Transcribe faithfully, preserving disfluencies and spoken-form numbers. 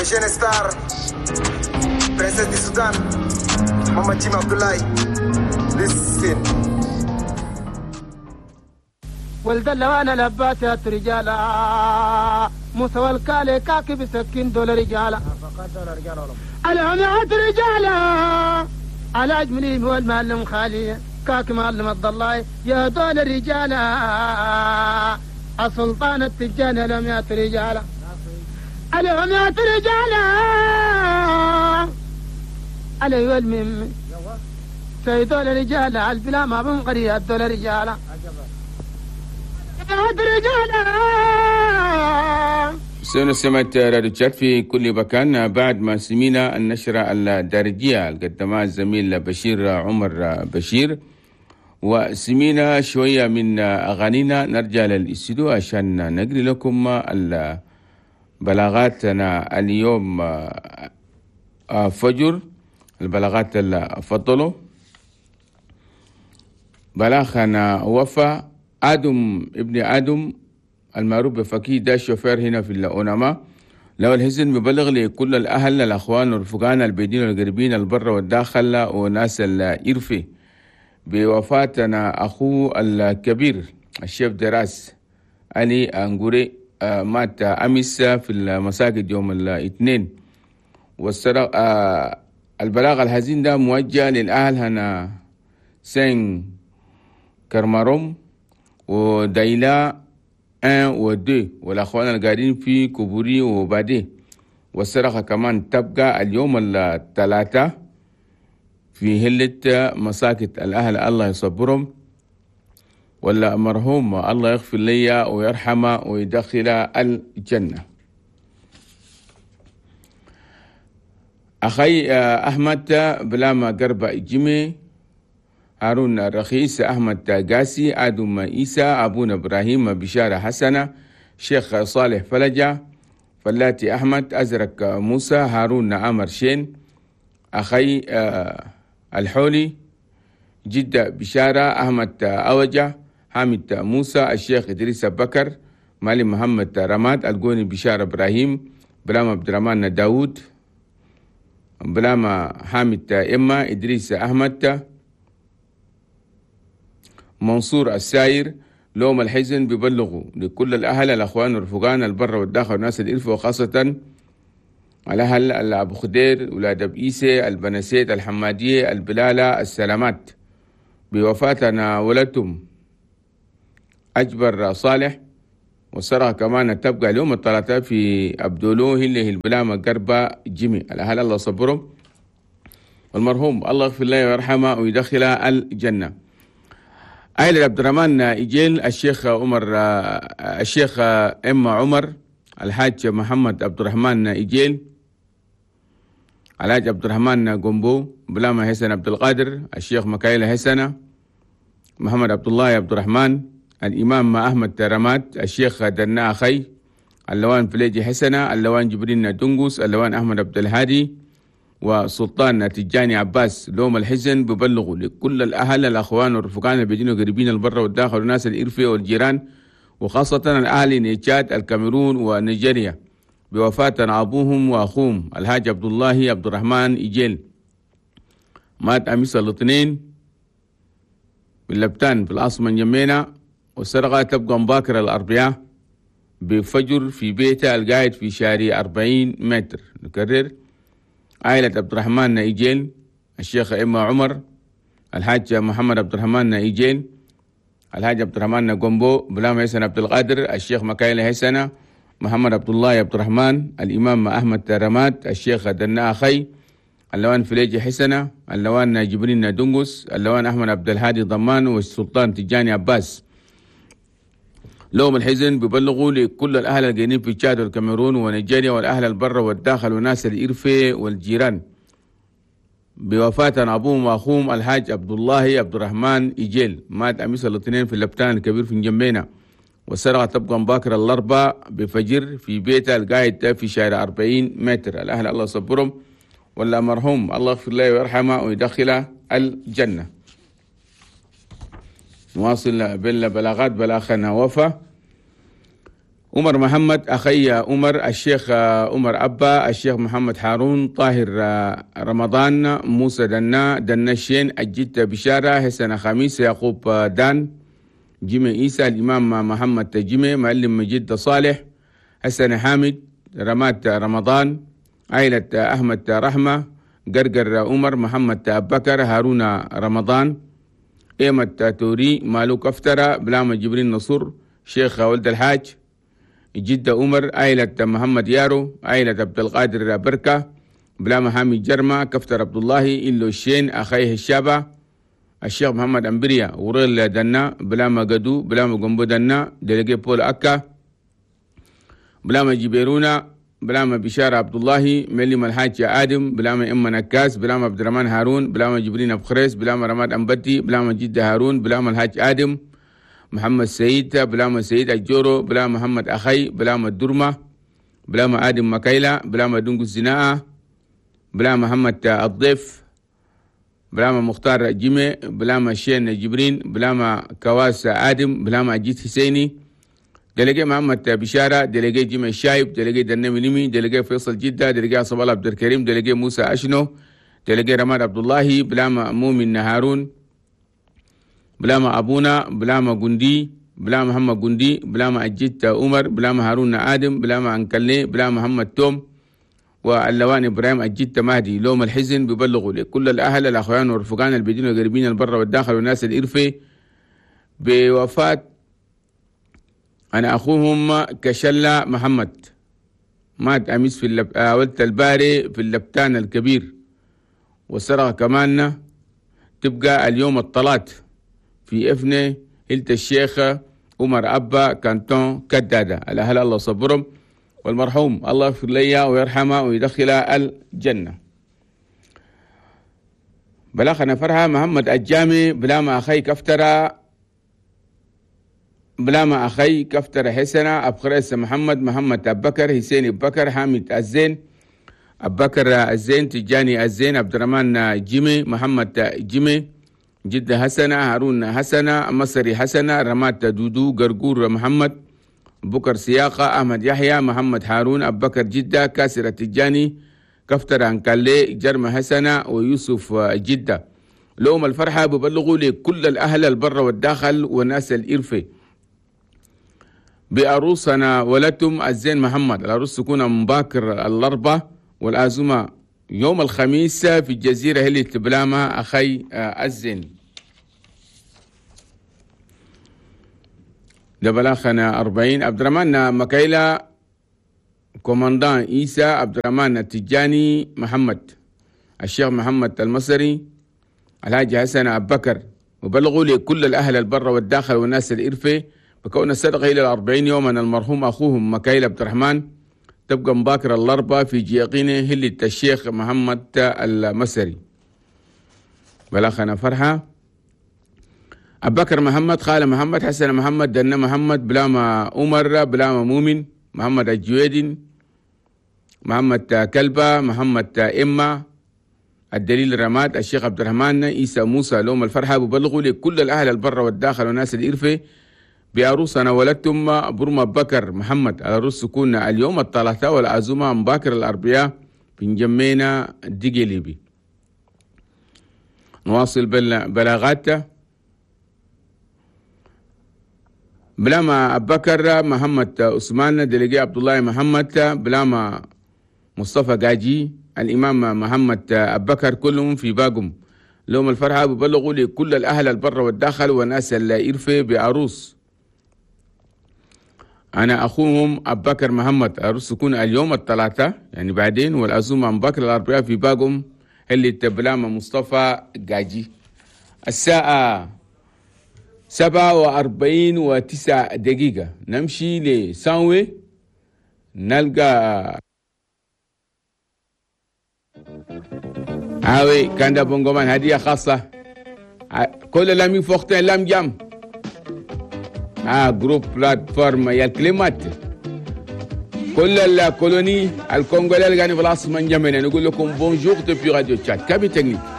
Les jeunes stars, princesse du Soudan, Mama Jim Abdullahi. Listen. ولد اللوان لباسات رجالا موسى والكالي كاكب سكين دول رجالا العميات رجالا على أجملهم هو المعلم خالي كاك معلم الضلاي يا دول رجالا السلطان التجاني العميات رجالا العميات رجالا علي والمم سيدول رجالا البلا ما بنقري الدول رجالا سنة سمعت راديو تشاد في كل مكان. بعد ما سمينا النشرة الدارجية اللي قدمها الزميل بشير عمر بشير، وسمينا شوية من أغانينا، نرجع للاستوديو عشان نقري لكم البلاغاتنا اليوم فجر. البلاغات اللي فضلوا بلاغنا وفا آدم ابن آدم المعروف بفكي، ده الشوفير هنا في الأونما. لو الحزن ببلغ لكل الأهل الأخوان والرفقان البيدين والقريبين البر والداخل وناس الإرفي بوفاتنا أخوه الكبير الشيف دراس علي أنغوري، مات أمس في المساجد يوم الاثنين. والسرق البلاغ الحزين ده موجه للأهل هنا سين كرماروم ودايلا واحد و اثنين والأخوان القاعدين في كوبوري وبادي. والصرخة كمان تبقى اليوم الثلاثة في هلة مساكت الأهل، الله يصبرهم. ولا مرحوم الله يغفر لي ويرحمه ويدخل الجنة. أخي أحمد بلاما قربة جيمي، هارون الرخيص، أحمد قاسي، آدم إيسى، أبونا إبراهيم بشارة حسنة، شيخ صالح فلجة، فلاتي أحمد، أزرق موسى، هارون عمر شين، أخي الحولي، جدة بشارة، أحمد أوجة، حامد موسى، الشيخ إدريس بكر، مالي محمد رماد، القوني بشارة إبراهيم، بلام عبد الرحمن داود، بلام حامد إما، إدريس أحمد، منصور الساير. لوم الحزن ببلغوا لكل الأهل الأخوان والرفقان البر والداخل والناس الإلف، وخاصة الأهل أبو خدير، ولاد أبو البنسيت، الحمادية، البلالة، السلامات بوفاتنا ولدتم أجبر صالح. والصراحة كمان تبقى اليوم الثلاثاء في أبدولو اللي هي البلامة قربة جيمي. الأهل الله صبرهم، والمرحوم الله يغفر له ويرحمه ويدخله الجنة. عائلة عبد الرحمن إيجيل، الشيخ عمر، الشيخ إما عمر، الحاج محمد عبد الرحمن إيجيل، الحاج عبد الرحمن قنبو، بلاما حسن عبد القادر، الشيخ مكايل حسنة، محمد عبد الله عبد الرحمن، الإمام أحمد رماد، الشيخ دنا أخي، اللوان فليجي حسنة، اللوان جبرين دنقوس، اللوان أحمد عبد الهادي، وسلطان تجاني عباس. لوم الحزن ببلغوا لكل الأهل الأخوان والرفقان البيدين وقريبين البر والداخل والناس الإرفية والجيران، وخاصة الأهل نيتشاد الكاميرون ونيجيريا بوفاة أبوهم وأخوهم الحاج عبد الله عبد الرحمن إيجيل، مات أمس الاثنين باللبتان في العاصمة نجمينا. والسرقة تبقى مباكرة الأربعاء بفجر في بيته القاعد في شارع أربعين متر. نكرر، عائلة عبد الرحمن إيجيل، الشيخ إما عمر، الحاج محمد عبد الرحمن إيجيل، الحاج عبد الرحمن قنبو، بلام حسن عبد القادر، الشيخ مكايل حسنة، محمد عبد الله عبد الرحمن، الإمام أحمد رماد، الشيخ دنا أخي، اللوان فليجي حسنة، اللوان جبرين دنقس، اللوان أحمد عبد الهادي ضمان، والسلطان تجاني عباس. لوم الحزن ببلغوا لكل الأهل القاعدين في تشاد والكاميرون ونيجيريا والأهل البر والداخل وناس الإرفي والجيران بوفاة أبوهم وأخوهم الحاج عبد الله عبد الرحمن إيجيل، مات أمس الاثنين في اللبتان الكبير في نجمينا. والسرقة تبقى مباكرة الأربعاء بفجر في بيته القاعد في شارع أربعين متر. الأهل الله صبرهم، ولا مرحوم الله يغفر له ويرحمه ويدخله الجنة. نواصل بالبلاغات. بلاغنا وفا عمر محمد أخي عمر، الشيخ عمر أبا، الشيخ محمد هارون، طاهر رمضان، موسى دنا، دنا الشين، الجد بشارة، حسن خميس، يعقوب دان، جيمي إيسى، الإمام محمد جيمي، معلم جد صالح، حسن حامد، رمات رمضان، عائلة أحمد رحمة، قرقر عمر، محمد بكر، هارون رمضان، إيمة توري، مالوك أفترة، بلامة جبرين نصر، شيخ ولد الحاج، جدة عمر، عائلة محمد يارو، عائلة عبد القادر بركة، بلامة حامد جرمة، كفتر عبد الله، إلو الشين، أخيه الشابة، الشيخ محمد أمبريا، وريل دنا، بلامة قدو، بلامة قنبو دنا، دلقي بول أكا، بلامة جبيرونا، بلامة بشارة عبد الله، مليم الحاج آدم، بلامة إما نكاس، بلامة عبد الرحمن هارون، بلامة جبرين أبو خريس، بلامة رماد أمبتي، بلامة جدة هارون، بلامة الحاج آدم، محمد سيد، بلامة سيد الجورو، بلامة محمد أخي، بلامة الدرمة، بلامة آدم مكايلة، بلامة دونجو الزناءة، بلامة محمد الضيف، بلامة مختار جيمي، بلامة شين جبرين، بلامة كواس آدم، بلامة أجيت حسيني، دلقي محمد بشارة، دلقي جيمي الشايب، دلقي دنمي نمي، دلقي فيصل جدة، دلقي عصب الله عبد الكريم، دلقي موسى أشنو، دلقي رماد عبد الله، بلامة مؤمن هارون، بلامة أبونا، بلامة جندي، بلامة محمد جندي، بلامة أجيت عمر، بلامة هارون آدم، بلامة أنكلي، بلامة محمد توم، واللوان إبراهيم أجيت مهدي. لوم الحزن ببلغوا لكل الأهل الأخوان والرفقان البدين والقريبين البر والداخل والناس الإرفي بوفاة أنا أخوهم كشلة محمد، مات أمس في اللب... ولد الباري في اللبتان الكبير، والسرقة كمان تبقى اليوم الطلات في إفنة هلت الشيخ عمر أبا كانتون كدادة. الأهل الله صبرهم، والمرحوم الله يغفر لي ويرحمه ويدخله الجنة. بلاغنا فرحة محمد الجامي، بلاما أخي كفترة، بلاما أخي كفترة حسنة، أبخريس محمد، محمد أبكر، حسين أبكر، حامد الزين، أبكر الزين، تجاني الزين، عبد الرحمن جيمي، محمد جيمي، جدة حسنة، هارون حسنة، مصري حسنة، رمات دودو، قرقور محمد، بكر سياقة، أحمد يحيى، محمد هارون، أبكر جدة، كاسر التجاني، كفتر أنكالي، جرم حسنة، ويوسف جدة. لهم الفرحة ببلغوا لكل الأهل البر والداخل والناس الإرفي بأروسنا ولدتم الزين محمد. العروس تكون مباكر الأربعة والعزومة يوم الخميس في الجزيرة هلي تبلامة أخي الزين. ده بلاخنا أربعين. عبد الرحمن مكايلة، كوماندان إيسى، عبد الرحمن التجاني محمد، الشيخ محمد المصري، الحاج حسن أبو بكر. وبلغوا لكل الأهل البر والداخل والناس الإرفي بكون الصدقة إلى الأربعين يوما المرحوم أخوهم مكايل عبد الرحمن تبقى مباكر الأربعة في جيقينه هلة الشيخ محمد المصري. بلاخنا فرحة أبو بكر محمد، خال محمد، حسن محمد، دنا محمد، بلاما عمر، بلاما مؤمن، محمد الجويدين، محمد كلبة، محمد إما، الدليل رماد، الشيخ عبد الرحمن، عيسى موسى. لهم الفرحة ببلغوا لكل الأهل البر والداخل والناس الإرفي بعروسنا ولدتم برما بكر محمد. على رؤوس سكون اليوم الثلاثاء والعزومة مباكر الأربعاء بنجمينا ديجليبي. نواصل بلاغات. بلاما أبكر محمد عثمان، دلقي عبد الله محمد، بلاما مصطفى قاجي، الإمام محمد أبكر، كلهم في باقم. لهم الفرحة ببلغوا لكل الأهل البر والداخل والناس الإرفي بعروس أنا أخوهم أبكر محمد. عروس تكون اليوم الثلاثاء يعني بعدين، والعزومة مبكر الأربعاء في باقم اللي تبلاما مصطفى قاجي. الساعة سبعة وأربعين وتسع دقيقة نمشي لسانوي نلقى هاوي كان بونغومان هدية خاصة كل لام فوقتين لام جام آه groupe plateforme يا الكلمات كل ال colonie الكونغولي اللي قاعدين في العاصمة نجمنا نقول لكم bonjour depuis Radio Tchad cabine technique.